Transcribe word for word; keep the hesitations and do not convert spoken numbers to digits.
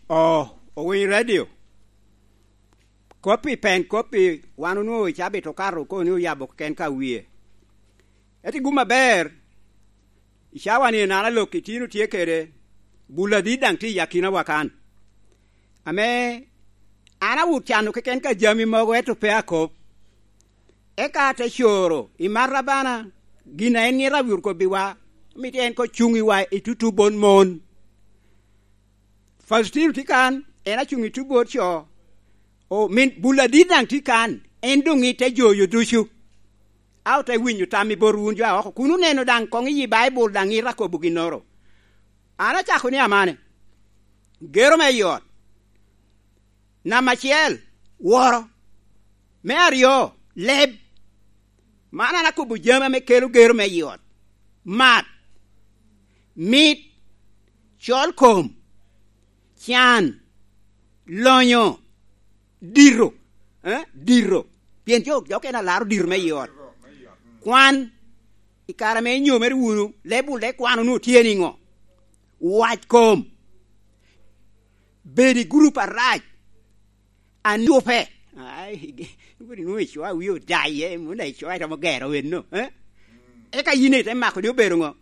Oh, owiny radio. Kop i pen kop i wan onwoŋo i cabit okato oko ni oyabo keken ka wie. Eti gum aber, i cawa ni enana lok itino tye kede, bul adit daŋ tye i akinawa kan. Ame an awot cano keken ka jami mogo, ento pe akop. Eka ate coro i marra bana, gin a en ŋet awot kobbiwa, mito en ko cuŋ iwa i tutu bon mon. Faustino tye kan, en acuŋ i tutu bot co. O, min bul adit daŋ tye kan, en doŋ ite joyo ducu. A ote winyo tam i bot wun jo a oko, kun oneno daŋ koŋ iyi Baibul daŋ ite akobo ginnoro. An acako ni amane, gero me i ot. Namba acel, woro. Me aryo, leb. Man an akobo jami ame kelo gero me i ot. Mat, mit, col kom, can, lonyo, dito, eh, dito. Pien jo, jo okene alaro dito me i ot. Kwan, i kare ame inyomere wunu, leb wunu, leb kwano wunu tye niŋo? Wac kom. Bedo i gurup arac. Anyupe. Ai, wodi nwoŋo icoa wie odaye, muna icoa iromo gero enno, eh? Eka yin ite mako ni obedo ŋo?